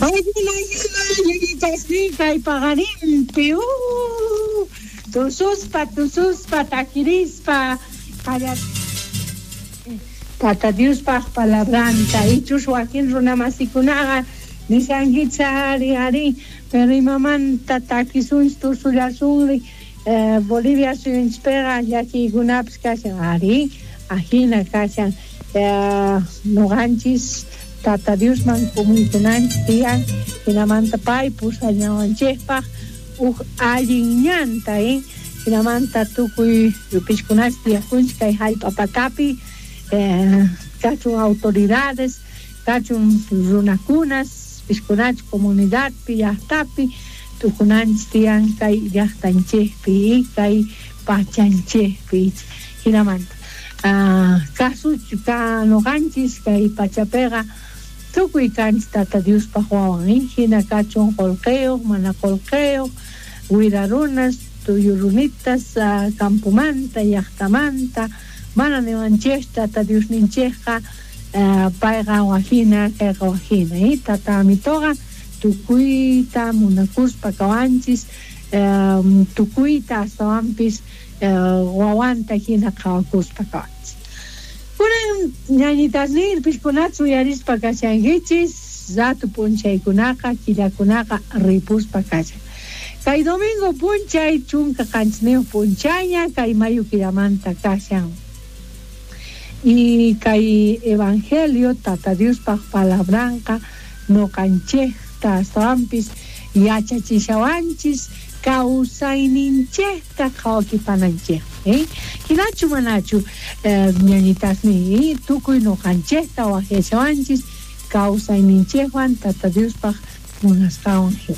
Paykuna hina ñañitasniy kay paqarinpi tususpa tususpa takirispa Tata Diospaj palabranta ichus wakin runamasikunaqa nishankichis ari ari pero imamanta takisunchis tusullasunri Bolivia suyunchispiqa llakiykunapis kashan ari ajina kashan noqanchis Tata Diosman kumuykunanchis tiyan jinamanta pay pusañawanchejpaj uj allin ñanta jinamanta tukuy yupishkunash tiyakunchik kay jallp'a patapi kachun autoridades kachun runakunas pishkunach comunidadpi llajtapi tukunanchis tiyan kay llajtanchejpi kay pachanchejpi jinamanta kasuch ka noqanchis kay pachapiqa tukuy kanchis Tata Diospaj wawan jina kachun qolqeyoj mana qolqeyoj wira runas tuyu runitas campomanta llajtamanta mana niwanchej Tata Diosninchejqa payqa wajina kayqa wajina Tata Amitoqa tukuyta munakuspa kawanchis tukuyta astawanpis wawanta jina qhawakuspa kawanchis. Kunan ñañitasniy pishkunata uyarispa kashankichis rato p'unchaykunaqa killakunaqa ripuspa kashan. Kay domingo p'unchay 17 p'unchayña kay mayo killamanta kashan. Y kay evangelio Tata Diospaj palabranqa noqanchejta astawanpis yachachishawanchis kawsayninchejta qhawakipananchej. Hinachu manachu ñañitasniy tukuy noqanchejta wajyashawanchis kawsayninchejwan Tata Diospaj munasqanwan hina.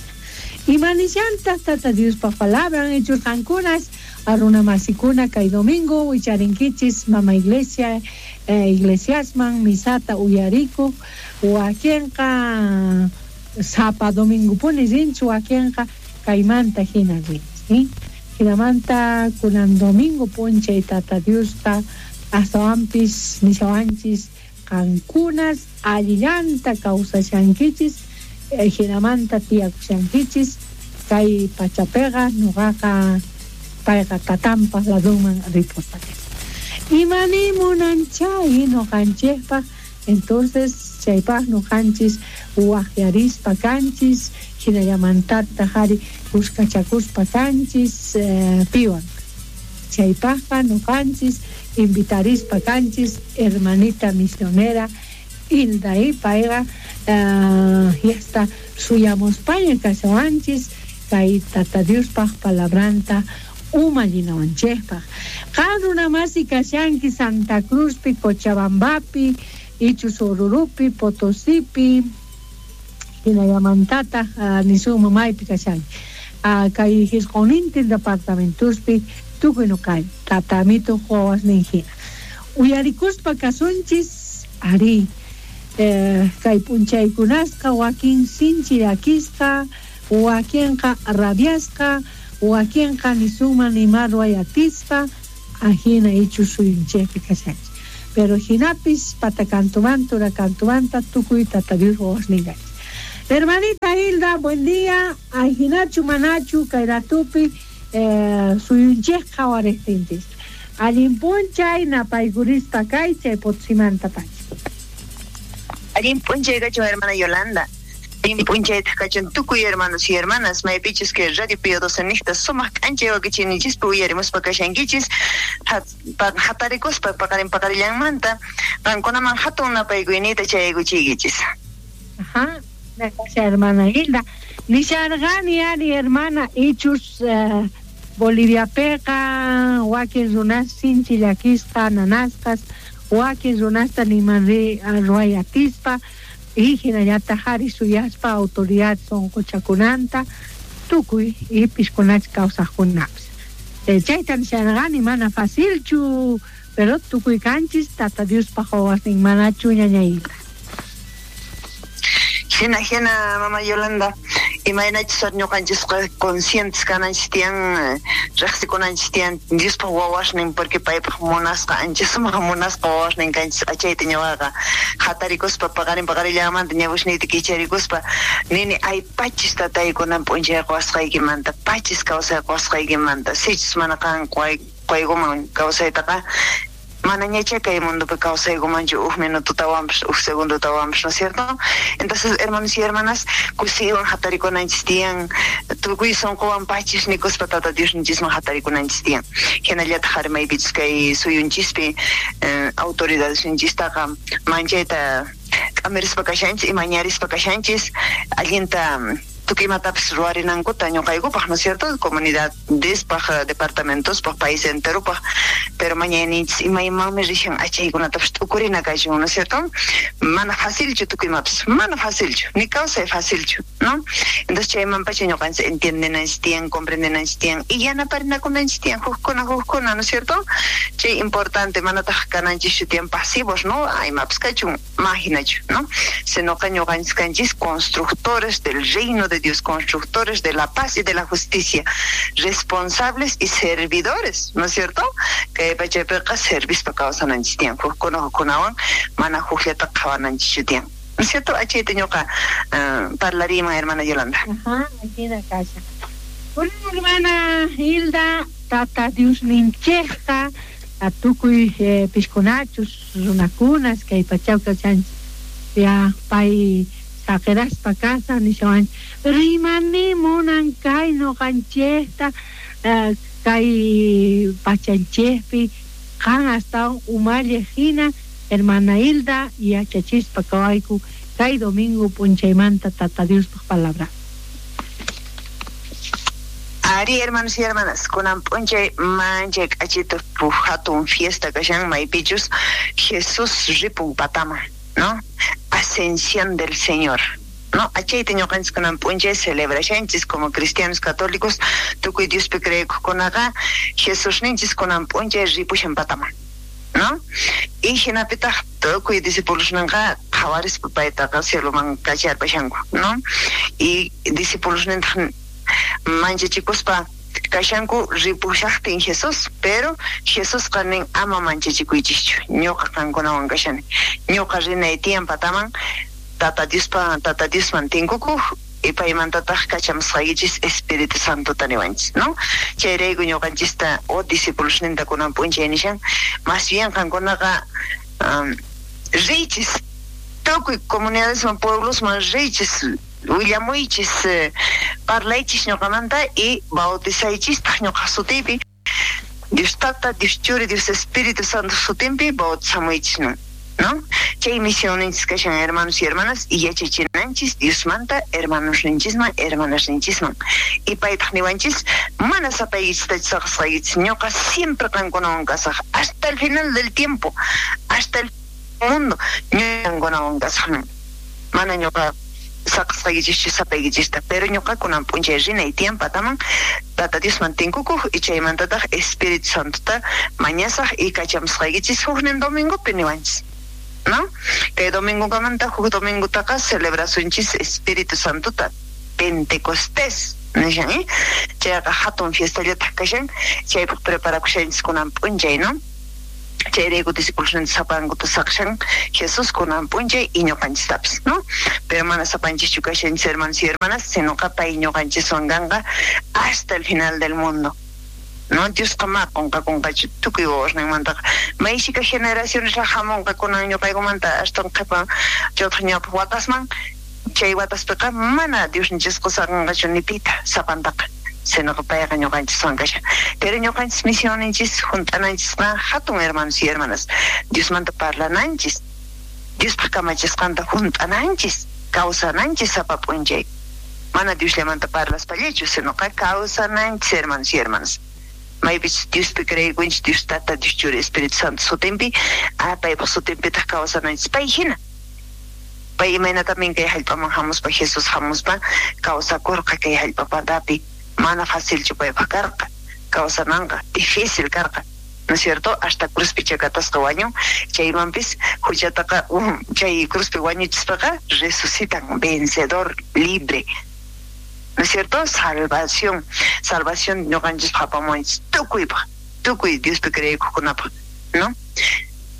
Imanishantaq Tata Diospaj palabran ichurqankunas runamasikuna kay domingo wicharinkichis mama iglesia iglesiasman misata uyarikuq wakinqa sapa domingopuni rinchis wakinqa kaymanta hina rinchis. Jinamanta kunan domingo p'unchay Tata Diosqa astawanpis nishawanchis qankunas allillanta kawsashankichis jinamanta tiyakushankichis kay pachapiqa noqaqa payqa tatanpaj ladunman ripuspa. Imani munanchay noqanchejpaj entonces chaypaj noqanchis wajyarispa kanchis jinallamantataq ari kuskachakuspa kanchis piwan. Chaypajqa noqanchis invitarispa kanchis hermanita misionera Hilda payqa yasta suyamuspaña kashawanchis kay Tata Diospaj palabranta umallinawanchejpaj. Qan runamasi kashanki Santa Cruzpi, Cochabambapi, ichus Orurupi, Potosipi, jinallamantataq nisunman maypi kashanki. Kay jisq'unintin departamentospi tukuy noqay Tata Amito wawasnin hina. Uyarikuspa kasunchis ari kay p'unchaykunasqa wakin sinchi llakisqa, wakinqa rabiasqa, wakinqa nisunman nima ruway atispa, ajina ichus suyunchejpi kashanchis. Pero jinapis patakantumanta urakantumanta tukuy Tata Dios wawasnin kanchis. Hermanita Hilda, buen día. Ajinachu manachu kay ratupi suyunchej qhawarejtinchis. Allin p'unchay napaykurispa kay chay Potosimanta pacha. Allin p'unchay kachun hermana Yolanda. Allin p'unchaytaq kachun tukuy hermanos y hermanas maypichus kay Radio Pío XII niqta sumaq k'anchay wakichiyninchispi uyarimuspa kashankichis hatarikuspa paqarin paqarillanmanta qankunaman hatun napaykuyniyta chayaykuchiykichis. Ajá, gracias hermana Hilda. Nisharqani ari hermana ichus Boliviapiqa wakin runas sinchi llakisqa nanasqas wakin runasta niman ruway atispa y hinallataq ari suyaspa autoridad sunquchakunanta tukuy y pishkunach kawsaqkunapis. Chayta nisharqani mana facilchu pero tukuy kanchis Tata Diospaj wawasnin manachu ñaña Hilda. Hina hina mama Yolanda. Imaynachus ñuqanchisqa conscientes kananchis tiyan, riqsikunanchis tiyan Diospaq wawasnin, porque paypaq munasqa, ancha sumaq munasqa wawasnin kanchis. Achayta ñuqaqa hatarikuspa paqarin paqarillanmanta ñawishniyti kicharikuspa nini ay pachis tataykunan p'unchay quwasqaykimanta, pachis kawsay quwasqaykimanta, sichus mana qan quykuman kawsaytaqa manañachá kay mundopi kawsaykumanchu uj minututawanpas, uj segundutawanpas, ¿no es cierto? Entonces, hermanos y hermanas, kusiywan hatarikunanchis tiyan, tukuy sunquwan pachis nikuspa Tata Diosninchisman hatarikunanchis tiyan. Hinallataq ari maypichus kay suyunchispi autoridadesninchistaqa manchayta k'amirispa kashanchis, imañarispa kashanchis, allinta tukuy imatapis ruwarinankuta ñuqaykupaq, ¿no es cierto? Comunidadespaq, departamentospaq, país enteropaq, pero mañayninchis imaymanmi rishan achaykunatapis t'ukurina kachun, ¿no es cierto? Mana facilchu tukuy imapis, mana facilchu, ni kawsay facilchu, ¿no? Entonces chaymanpacha ñuqanchis entiendenanchis tiyan, comprendenanchis tiyan, y yanaparinakunanchis tiyan, hukkuna, hukkuna, ¿no es cierto? Chay importante, manataq kananchischu tiyan pasivos, ¿no? Imapis kachun, mahinachu, ¿no? Sinoqa ñuqanchis kanchis constructores del reino de Dios, constructores de la paz y de la justicia, responsables y servidores, ¿no es cierto? Kay pachapiqa servispa kawsananchis tiyan, hukkuna hukkunawan mana hukllata qhawananchis tiyan. ¿No es cierto? Achayta ñuqa parlariyman, hermana Yolanda. Ajá, ajina kasha. Hola, hermana Hilda, Tata Diosninchejqa, atukuy piskunachus, runakunas, kay pachaw kachanchis. Ya, pay saqiraspa kasa nishawan, rimani munan kay ñuqanchejta, kay pachanchejpi, qan astawan umalliq hina, hermana Hilda, yachachispa kawayku kay domingo p'unchaymanta Tata Diospaq palabra. Ari, hermanos y hermanas, kunan p'unchay manchay k'achito hatun fiesta kashan maypichus Jesús ripun pataman, ¿no? Ascensión del Señor, ¿no? Achayta ñuqanchis kunan p'unchay celebrashanchis como cristianos católicos, tukuy Diospi creekuqkunaqa Jesusninchis kunan p'unchay ripushan pataman, ¿no? Y hinapitaq tukuy discipulosninqa qhawarispa paytaqa cieloman kacharpashanku, ¿no? Y discipulosnintaq manchachikuspa kashanku ripushaqtin Jesús, pero Jesusqa nin ama manchachikuychischu, ñuqa qankunawan kashani, ñuqa rinay tiyan pataman, Tata Diospa, Tata Diosman tinkukuq, y paymantataq kachamusqaykichis Espíritu Santota niwanchis, ¿no? Chayrayku ñuqanchista o discipulosninta kunan p'unchay nishan, más bien qankunaqa riychis, tukuy comunidadesman, pueblosman riychis, willamuychis, parlaychis ñuqamanta y bautizaychistaq ñuqa sutiypi, Dios Tata, Dios Churi, Dios Espíritu Santo sutinpi bautizamuychis, ¿no? ¿No? Chay misioninchis kashan, hermanos y hermanas, y yachachinanchis Diosmanta hermanosninchisman, hermanasninchisman. Y paytaq niwanchis, mana sapaykichista saqasqaykichis, ñuqa siempre qankunawan kasaj, hasta el final del tiempo, hasta el mundo, ñuqa qankunawan kasaj, ¿no? Mana ñuqa saqasqaykichischu sapaykichista, pero ñuqa kunan p'unchay rinay tiyan pataman, Tata Diosman tinkukuq, y chaymantataq Espíritu Santota mañasaj y kachamusqaykichis huknin domingopi niwanchis, ¿no? Kay domingokamanta huk domingotaqa celebrasunchis Espíritu Santota, Pentecostés, nishan, Chayqa hatun fiestallataq kashan, chaypaq preparakushanchis kunan p'unchay, ¿no? Chayrayku discipulosninta sapankuta saqshan Jesús kunan p'unchay y ñuqanchistapis, ¿no? Pero mana sapanchischu kashanchis, hermanos y hermanas, sinoqa pay ñuqanchiswan kanqa hasta el final del mundo, ¿no? Diosqa ma qunqakunqachu tukuy wawasninmantaqa, mayshika generaciones hamunqa kunan ñuqaykumanta astawan qhipa chaytaq ñawpaq watasman, chay wataspiqa mana Diosninchisqa saqanqachu ni pita sapantaqa, sinoqa payqa ñuqanchiswan kashan. Pero ñuqanchis misioninchis hunt'ananchisqa hatun, hermanos y hermanas, Diosmanta parlananchis, Diospaq kamachisqanta hunt'ananchis, kawsananchis sapa p'unchay. Mana Diosllamanta parlaspallachu, sinoqa kawsananchis, hermanos y hermanas. Maypichus Diospi creekunchis, Dios Tata, Dios Churi, Espíritu Santo sutinpi, paypaq sutinpitaq kawsananchis pay hina. Pay imayna también kay hallp'aman hamuspa, Jesús hamuspa, kawsakurqa kay hallp'a patapi. Mana facilchu paypaq karqa, kawsananqa difícil karqa, ¿no es cierto? Hasta cruzpi chakatasqa wañun, chaymanpis huchataqa, chay cruzpi wañuchispaqa resucitan, vencedor, libre. ¿No es cierto? Salvación, salvación ñuqanchispaq apamuwanchis tukuypaq, tukuy Diospi creekuqkunapaq, ¿no?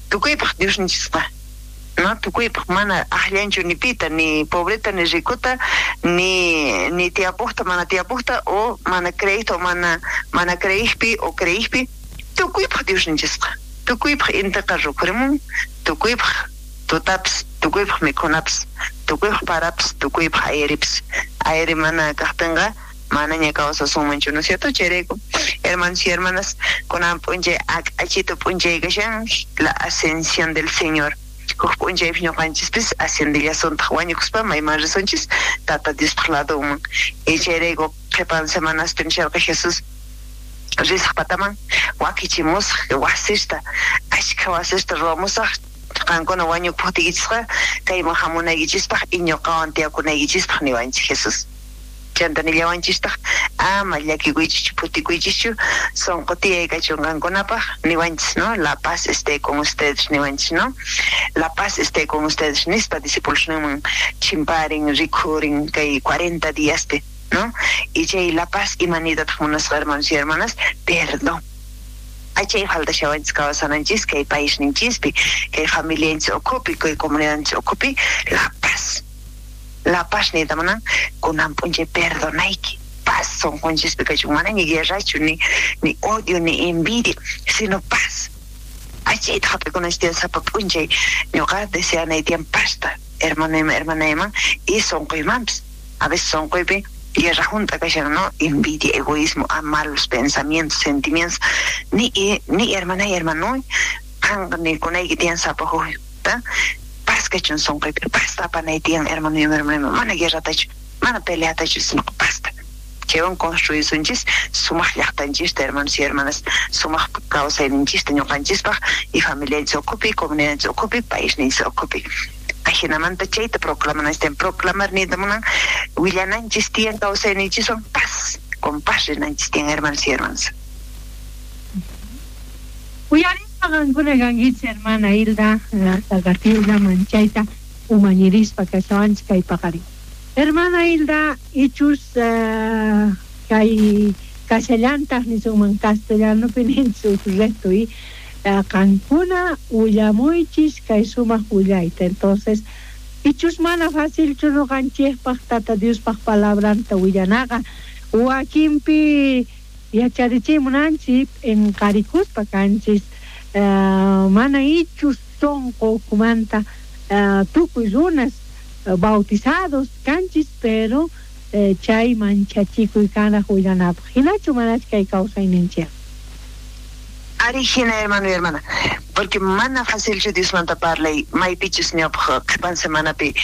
Tukuypaq Diosninchisqa, ¿no? Tukuypaq mana aqllanchu ni pita, ni pobreta, ni ricota, ni tiyapujta, mana tiyapujta, o mana creejta, o mana creejpi, o creejpi, tukuypaq Diosninchisqa. Tukuypaq intiqa rukhurimun, tukuypaq tutapis, tukuypaq mikhunapis, tukuypaq parapis, tukuypaq airipis. Aire mana kajtinqa manaña kawsasunmanchu, ¿no es cierto? Chayrayku, hermanos y hermanas, kunan p'unchay ak'achito p'unchay kashan, la ascensión del Señor. Huk p'unchaypis ñuqanchispis ascendillasuntaj wañukuspa mayman risunchis Tata Diospaj ladunman. Y chayrayku qhipan semanaspi nisharqa Jesús risaj pataman wakichimusaj wasista, ashkha wasista ruwamusaj, qankuna wañupujtiykichisqa kayman hamunaykichispaj y ñuqawan tiyakunaykichispaj niwanchis Jesús. Chanta nillawanchistaq ama llakikuychischu, phutikuychischu, sonqo tiyay kachun qankunapaj niwanchis, ¿no? La paz esté con ustedes niwanchis, ¿no? La paz esté con ustedes nispa discípulos ninman chimparin, rikhurin kay 40 diaspi, ¿no? Y chay la paz imanitataq munasqa, hermanos y hermanas, perdón. Achay faltashawanchis kawsananchis kay paisninchispi, kay familianchis ukhupi, kay comunidadninchis ukhupi, la paz. La paz niyta munan kunan p'unchay perdonayki, paz sonqonchispi kachun, manaña guerrachu, ni odio, ni envidia, sino paz. Achayta hap'ikunanchis tiyan sapa p'unchay, ñuqa deseanay tiyan pazta, hermanayman, hermanayman, y sonqoymanpis. A veces sonqoypi guerra junta kashan, ¿no? Envidia, egoísmo, a malos pensamientos, sentimientos. Ni hermanay, hermanoy, qanqa ni kunayki tiyan sapa hukta. Paz kachun sonqoypi, pazta apanay tiyan, hermano y hermana, mana guerratachu, mana peleatachu, sino pazta. Chaywan construisunchis sumaq llaqtanchista, hermanos y hermanas, sumaq kawsayninchista ñuqanchispaq y familianchis ukhupi, comunidadninchis ukhupi, paisninchis ukhupi. Ajinamanta chayta proclamananchis tiyan, proclamar niyta munan, willananchis tiyan kawsayninchiswan paz, con paz rinanchis tiyan, hermanos y hermanas. Uyarispa qankuna kankichis, hermana Hilda, Gatilda, manchayta umañirispa kashawanchis kay paqarin. Hermana Hilda, ichus kay kashallantaq nisunman castellanopi ninchis uj reto y qankuna willamuychis kay sumaq willayta. Entonces, ichus mana facilchu ñuqanchikpaq Tata Diospaq palabranta willanaqa, wakinpi yacharichimunanchik p'inqarikuspa kanchis, mana ichus sonqo ukhumanta tukuy runas bautizados kanchis, pero chay manchachikuy kanaq willanapaq. Hinachu manachu kay kawsayninchik? Ari hina, hermano y hermana, porque mana facilchu Diosmanta parlay, maypichus ñawpaq qhipan semanapi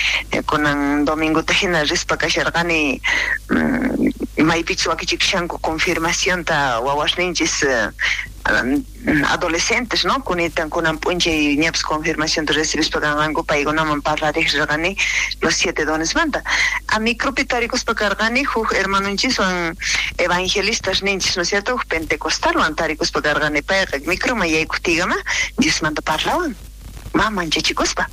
kunan domingota hina rispa kasharqani, maypichus wakichikushanku confirmacionta wawasninchis adolescentes, ¿no? Kunitan kunan p'unchay ñapis confirmacionta recibispa kanqanku, paykunaman parlariq rirqani los 7 dones manta. A micropi tarikuspa karqani huk hermanonchiswan evangelistas ninchis, ¿no es cierto? Huk pentecostalwan tarikuspa karqani, payqa microman yaykuqtiykama Diosmanta parlawan, ma manchachikuspa.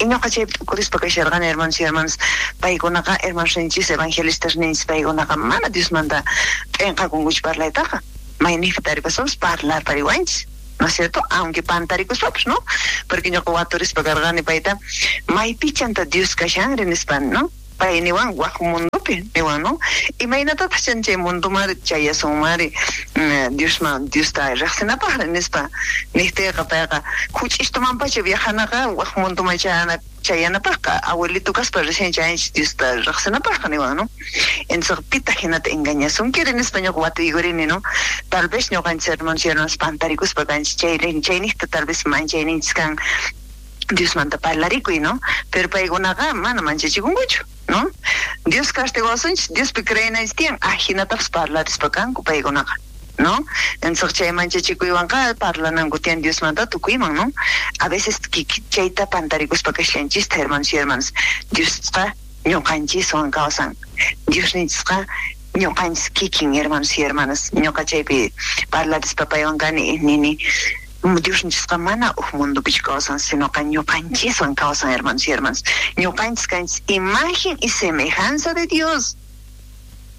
Y ñuqa chaypi t'ukurispa kasharqani, hermanos y hermanas, paykunaqa hermanos ninchis, evangelistas ninchis, paykunaqa mana Diosmanta p'inqakunkuchu parlaytaqa. Mayniqpi tarikuspapas parlarpariwanchis, ¿no es cierto? Aunque pantarikuspapas, ¿no? Porque ñuqa waturispa karqani payta, maypichanta Dios kashanri nispa, ¿no? Pay niwan waj mundopi, niwan, ¿no? Imaynatataq chan chay mundomari chayasunmari, Diosman, Diosta riqsinapaqri nispa, niqtiyqa payqa huch'ishtumanpacha viajanaqa waj mundoman chayanapaqqa, abuelito kaspa recién chayanchis Diosta riqsinapaqqa niwan, ¿no? Entonces, pitaq hinata engañasunkiri nispa ñuqa watuykurini, ¿no? Tal vez ñuqanchis hermanos y hermanas pantarikuspa kanchis, chayniqta tal vez manchayninchis kan Diosmanta parlarikuy, ¿no? Pero paykunaqa mana manchachikunkuchu, ¿no? Dios castigawasunchis, Diospi creenanchis tiyan, ajinatapas parlarispa kanku paykunaqa, ¿no? Entonces chay manchachikuywanqa parlananku tiyan Diosmanta tukuyman, ¿no? A veces chayta pantarikuspa kashanchista, hermanos y hermanas, Diosqa ñuqanchiswan kawsan, Diosninchisqa ñuqanchis kikin, hermanos y hermanas, ñuqa chaypi parlarispa paywan kani, nini, Diosninchisqa mana uj mundopichu kawsan, sinoqa ñuqanchiswan kawsan, hermanos y hermanas. Ñuqanchis kanchis imagen y semejanza de Dios.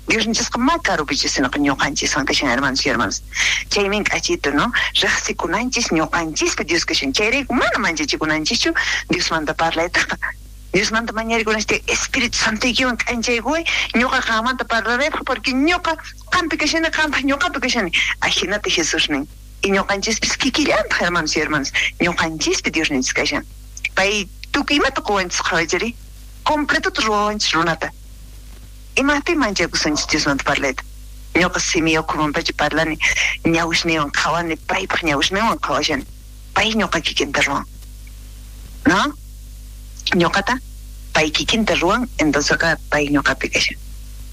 Diosninchisqa ma karupichu, sinoqa ñuqanchiswan kashan, hermanos y hermanas. Chaymin k'achito, ¿no? Riqsikunanchis ñuqanchispi Dios kashan. Chayrayku mana manchachikunanchischu Diosmanta parlaytaqa. Diosmanta mañarikunanchis Espíritu Santoykiwan k'anchaykuway, ñuqa qanmanta parlaraypaq, porque ñuqa qampi kashani, qampaq ñuqapi kashani. Ajinata Jesús nin. Y ñuqanchispis kikillantaq, hermanos y hermanas, ñuqanchispi Diosninchis kashan. Pay tukuy imata quwanchis qhawaychari, completota ruwawanchis runata. Imapí manchakusunchis Diosmanta parlayta. Ñuqa simi ukhumanpacha parlani, ñawisniywan qhawani, paypaq ñawisninwan qhawashani. Pay ñuqa kikinta ruwan. ¿No? Ñuqata pay kikinta ruwan, entonces pay ñuqapi kashan.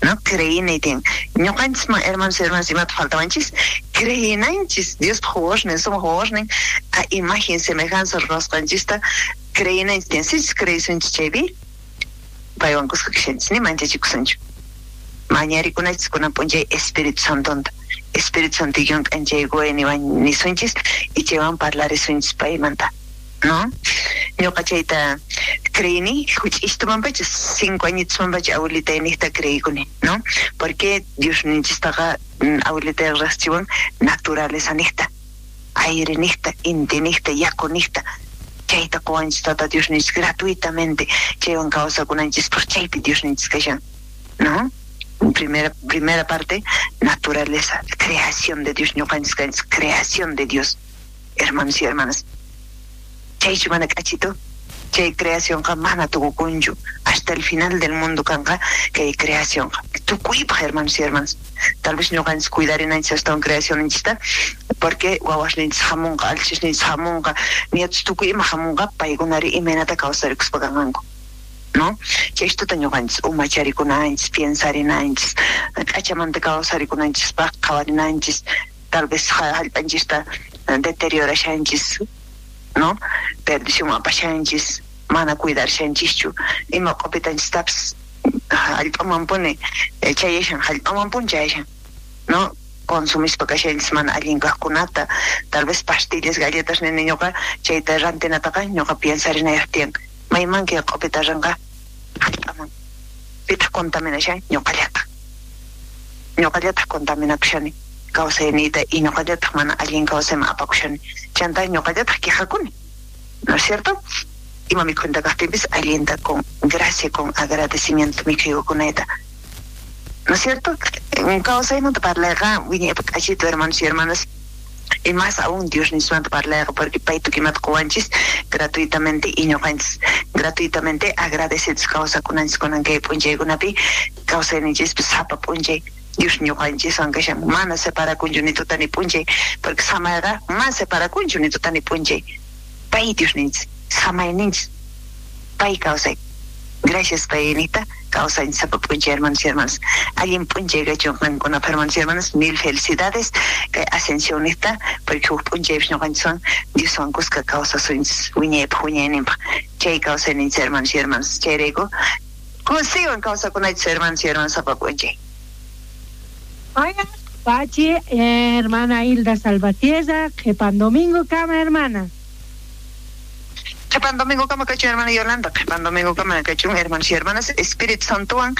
¿No? Creyinay tiyan. Ñuqanchisman, hermanos y hermanas, imata faltawanchis? Creyinanchis, Diospaq wawasnin, sumaq wawasnin, a imagen semejanza ruwasqanchista creyinanchis tiyan. Sichus creyisunchis chaypi, paywan kuska kashanchis, ni manchachikusunchu. Mañarikunachis kunan p'unchay Espíritu Santonta. Espíritu Santoykiwan k'anchaykuway niwan nisunchis, y chaywan parlarisunchis paymanta. ¿No? Ñuqa chayta creini, huch'istumanpacha, 5 añitusmanpacha abuelitay niqta creikuni, ¿no? Porque Dios ninchistaqa abuelitay riqsichiwan naturaleza niqta, aire niqta, inti niqta, yaku niqta. Chayta quwanchis Tata Dios ninchis gratuitamente, chaywan kawsakunanchispaq chaypi Dios ninchis kashan, ¿no? Primera parte, naturaleza, creación de Dios, ñuqanchis kanchis, creación de Dios, hermanos y hermanas. Chaychu mana k'achito, chay creacionqa mana tukukunchu, hasta el final del mundo kanqa kay creacionqa. Tukuypaq, hermanos y hermanas. Tal vez ñuqanchis cuidarinanchis astawan creacionninchista, porque wawasninchis hamunqa, alchisninchis hamunqa, nietos tukuy ima hamunqa, paykunari imaynata kawsarikuspa kanqanku, ¿no? Chaystuta ñuqanchis umacharikunanchis, piensarinanchis, k'achamanta kawsarikunanchispaq qhawarinanchis, tal vez hallp'anchista deteriorashanchis, ¿no? Perdición apashanchis, mana cuidarshanchischu, ima q'upitanchistapis hallp'aman puni chayashan, hallp'aman puni chayashan, ¿no? Consumispa kashanchis mana allin kaqkunata, tal vez pastillas, galletas nini ñuqa chayta rantinataqa ñuqa piensarinayaq tiyan, mayman kay q'upita ranqa hallp'aman, pitaq contaminashan ñuqallataq, ñuqallataq contaminakushani kawsayniyta y ñuqallataq mana allin kawsayman apakushani, chanta ñuqallataq quejakuni, ¿no es cierto? Ima mikhunta kaqtinpis allinta con gracia, con agradecimiento mikhuykunayta, ¿no es cierto? Kawsaymanta parlayqa wiñaypaq k'achito, hermanos y hermanas, y más aún Dios nismanta parlayqa, porque pay tukimata quwanchis gratuitamente y ñuqanchis gratuitamente agradecidos kawsakunanchis kunan kay p'unchaykunapi, kawsayninchispis sapa p'unchay Dios ñuqanchiswan kashan, mana separakunchu ni tuta ni p'unchay, porque samayqa mana separakunchu ni tuta ni p'unchay. Pay Diosninchis, samayninchis, pay kawsay. Gracias paynita, kawsayninchis sapa p'unchay, hermanos y hermanas. Allin p'unchay kachun qankunapaq, hermanos y hermanas, mil felicidades kay ascensionista, porque huk p'unchaypis ñuqanchiswan Dioswan kuska kawsasunchis wiñaypaq wiñayninpaq. Chay kawsayninchis, hermanos y hermanas, chayrayku kusiywan kawsakunachis, hermanos y hermanas, sapa p'unchay. Vaya, Pachi, hermana Hilda Salvatierra, Qhepan domingo kama, hermana. Qhepan domingo kama kachun, hermana Yolanda, qhepan domingo kama kachun, hermanos y hermanas, Espíritu Santowan,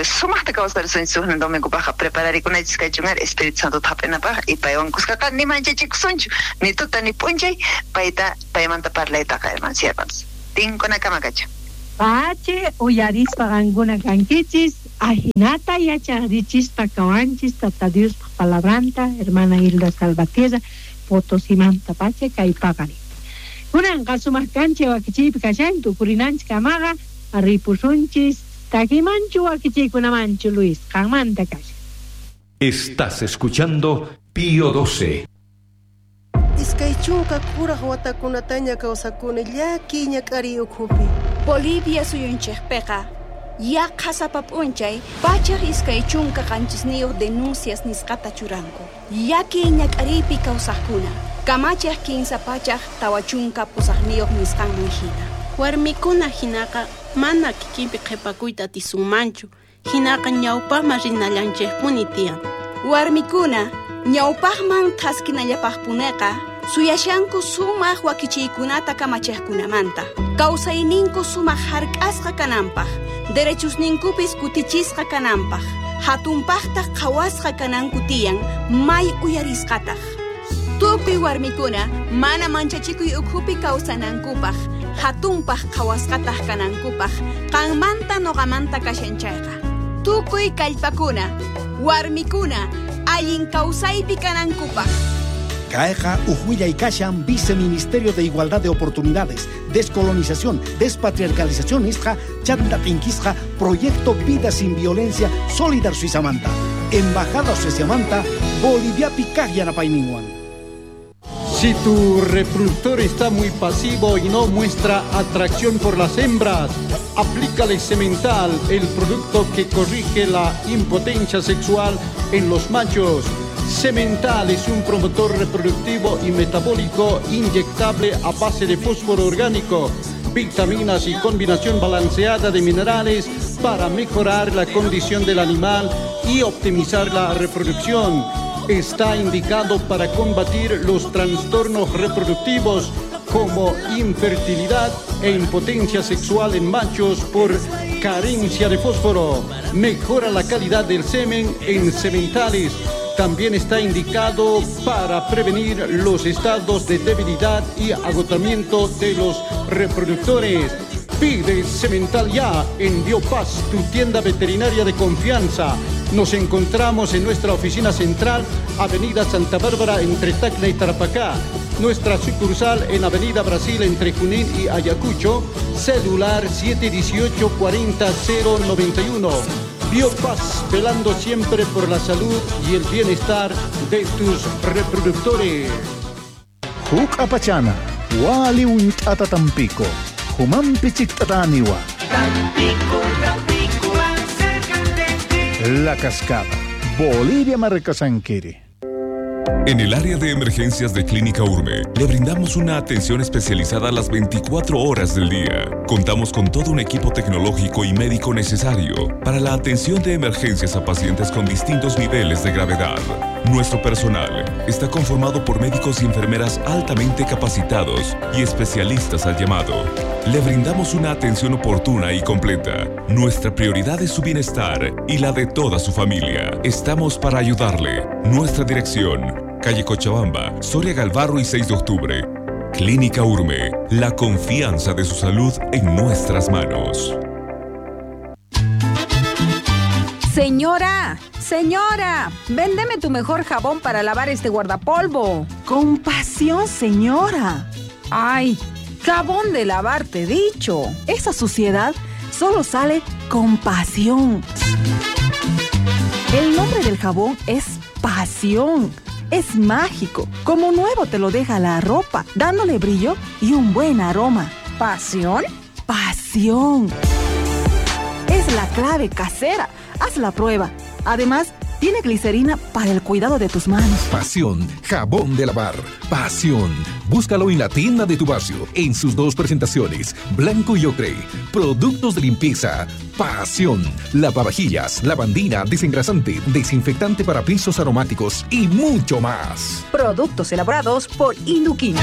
sumaqta kawsarisunchis huk domingo paja, prepararikunachis kachun, Espíritu Santo hap'inapaq, y paywan kuskaqa ni manchachikusunchu, ni tuta ni p'unchay, payta, paymanta parlaytaqa, hermanos y hermanas. Tinkuna kama kachun. Pachi, uyarispa qankuna kankichis, ajinata yacharichispa kawanchis, Tata Diospaq palabranta, hermana Hilda Salvatierra, Potosimanta pache kay paqarin. Kunanqa sumaq kancha wakichiypi kashan, tukurinanchik kamaqa, ripusunchis, takimanchu wakichiykunamanchu, Luis, qanmanta kashan. Estás escuchando Pío 12. Iskay chunka kuraj watakunataña kawsakuni llakiy ñak'ariy ukhupi. Bolivia suyunchikpiqa yaqha sapa p'unchay 127 denuncias nisqata churanku. Llakiy ñak'ariypi kawsaqkuna kamachiq 348 nisqanman hina. Warmikuna hinaqa mana kikinpi qhipakuyta atisunmanchu, hinaqa ñawpaqman rinallanchikpuni tiyan. Warmikuna ñawpaqman thaskinallapaqpuneqa suyashanku sumaq wakichiykunata kamachiqkunamanta, kawsayninku sumaq hark'asqa kananpaq, derechusninkupis kutichisqa kananpaq, Hatunpaqtaq qhawasqa kananku tiyan, may uyarisqataq. Tukuy warmikuna mana manchachikuy ukhupi kawsanankupaq, hatunpaq qhawasqataq kanankupaq, qanmanta noqamanta kashan chayqa. Tukuy kallpakuna, warmikuna, allin kawsaypi kanankupaq. Kayqa uj willay kashan Viceministerio de Igualdad de Oportunidades, Descolonización, Despatriarcalización nisqa chanta t'inkisqa Proyecto Vida Sin Violencia Solidar Suizamanta, Embajada Sueciamanta, Boliviapi kaq yanapayninwan. Si tu reproductor está muy pasivo y no muestra atracción por las hembras, aplícale Semental, el producto que corrige la impotencia sexual en los machos. Semental es un promotor reproductivo y metabólico inyectable a base de fósforo orgánico, vitaminas y combinación balanceada de minerales para mejorar la condición del animal y optimizar la reproducción. Está indicado para combatir los trastornos reproductivos como infertilidad e impotencia sexual en machos por carencia de fósforo. Mejora la calidad del semen en sementales. También está indicado para prevenir los estados de debilidad y agotamiento de los reproductores. Pide Semental ya en Biopaz, tu tienda veterinaria de confianza. Nos encontramos en nuestra oficina central, Avenida Santa Bárbara, entre Tacna y Tarapacá. Nuestra sucursal en Avenida Brasil, entre Junín y Ayacucho. Celular 718-40091. Biopaz, velando siempre por la salud y el bienestar de tus reproductores. Huk apachana, wali unt'ata tampico, humanpi chikt'ataniwa. Tampico, Tampico, acércate. La Cascada, Bolivia Marcasanquiri. En el área de emergencias de Clínica Urme, le brindamos una atención especializada a las 24 horas del día. Contamos con todo un equipo tecnológico y médico necesario para la atención de emergencias a pacientes con distintos niveles de gravedad. Nuestro personal está conformado por médicos y enfermeras altamente capacitados y especialistas al llamado. Le brindamos una atención oportuna y completa. Nuestra prioridad es su bienestar y la de toda su familia. Estamos para ayudarle. Nuestra dirección: calle Cochabamba, Soria Galvarro y 6 de octubre. Clínica Urme, la confianza de su salud en nuestras manos. Señora, señora, véndeme tu mejor jabón para lavar este guardapolvo. Con pasión, señora. Ay, jabón de lavar, te he dicho. Esa suciedad solo sale con pasión. El nombre del jabón es Pasión. Es mágico, como nuevo te lo deja la ropa, dándole brillo y un buen aroma. ¿Pasión? Pasión. Es la clave casera. Haz la prueba. Además, tiene glicerina para el cuidado de tus manos. Pasión, jabón de lavar. Pasión. Búscalo en la tienda de tu barrio, en sus dos presentaciones, blanco y ocre. Productos de limpieza. Pasión. Lavavajillas, lavandina, desengrasante, desinfectante para pisos aromáticos y mucho más. Productos elaborados por Induquín.